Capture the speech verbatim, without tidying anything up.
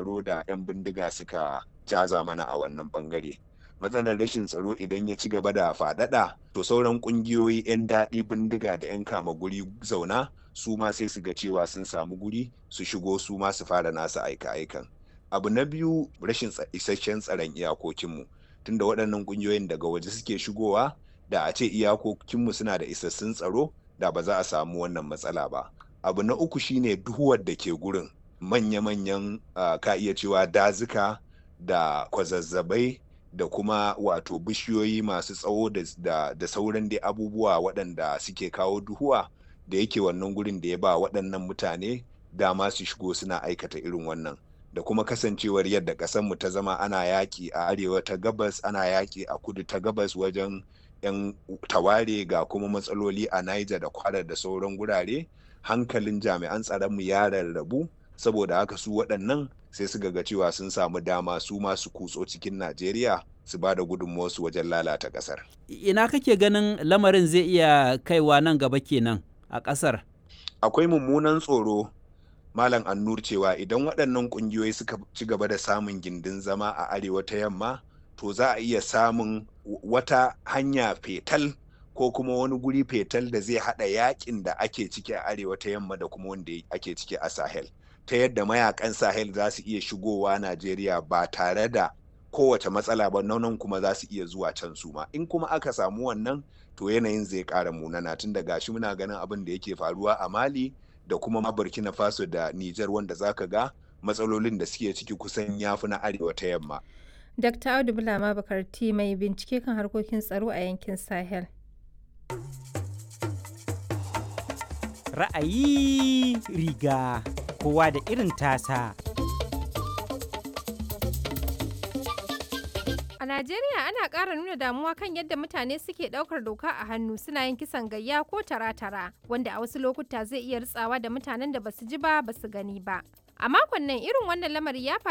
tsaro da 'yan bindiga suka caza mana a wannan bangare. Matsalar rashin tsaro idan ya ci gaba da faɗaɗa, to sauran ƙungiyoyi 'yan daɗi bindiga da 'yan kama guri zauna su ma sai su ga cewa sun samu guri su shigo su ma su fara nasu aika-aikan. Abu na biyu, rashin isasshen tsaron iyakokinmu, tunda waɗannan ƙungiyoyin daga waje suke shigowa. Da a ce iyakokinmu suna da isassun tsaro, da ba za a samu wannan matsala ba. Abu na uku shine duhuwar da ke gurin manya-manyan uh, ka iya cewa dazuka da kwazazzabai da kuma wato bishiyoyi masu tsawo da, da, da sauran dai abubuwa waɗanda suke kawo duhuwa da yake wannan gurin da ya ba waɗannan mutane dama su shigo suna aikata irin wannan, da kuma kasancewar yadda ƙasarmu ta zama ana yaƙi a arewa ta gabas, ana yaƙi a kudu ta gabas wajen 'yan taware, ga kuma matsaloli a Niger da Kwara da sauran gurare. Hankalin jami'an tsaronmu ya rarrabu, saboda haka su waɗannan sai su ga cewa sun samu dama su masu kutso cikin Najeriya su ba da gudunmuwarsu wajen lalata ƙasar. Ina kake ganin lamarin zai iya kaiwa nan gaba kenan a ƙasar? Akwai mummunan tsoro, Malam Annur, cewa idan waɗannan ƙungiyoyi suka ci gaba da samun gindin zama a arewa ta yamma, to za a iya samun wata hanya fetal ko kuma wani guri fetal da zai haɗa yakin da ake ciki a arewa ta yamma da kuma wanda ake ciki a Sahel. Ta yadda mayakan Sahel za su iya shigowa Najeriya ba tare da kowace matsala ba, nan kuma za su iya zuwa can su ma. In kuma aka samu wannan, to yanayin zai ƙara munana, tun da gashi muna ganin abin da yake faruwa a Mali da kuma ma Burkina Faso da Nijar, wanda zaka ga matsalolin da suke ciki kusan yafi na arewa ta yamma. Dakta Audu Bulama Bakarti, mai bincike kan harkokin tsaro a yankin Sahel. Ra'ayi riga kowa da irin tasa. A Najeriya ana ƙara nuna damuwa kan yadda mutane suke ɗaukar doka a hannu suna yin kisan gayya ko tara-tara, wanda a wasu lokuta zai iya ritsawa da mutanen da basu ji ba basu gani ba. A makon nan irin wannan lamari ya faru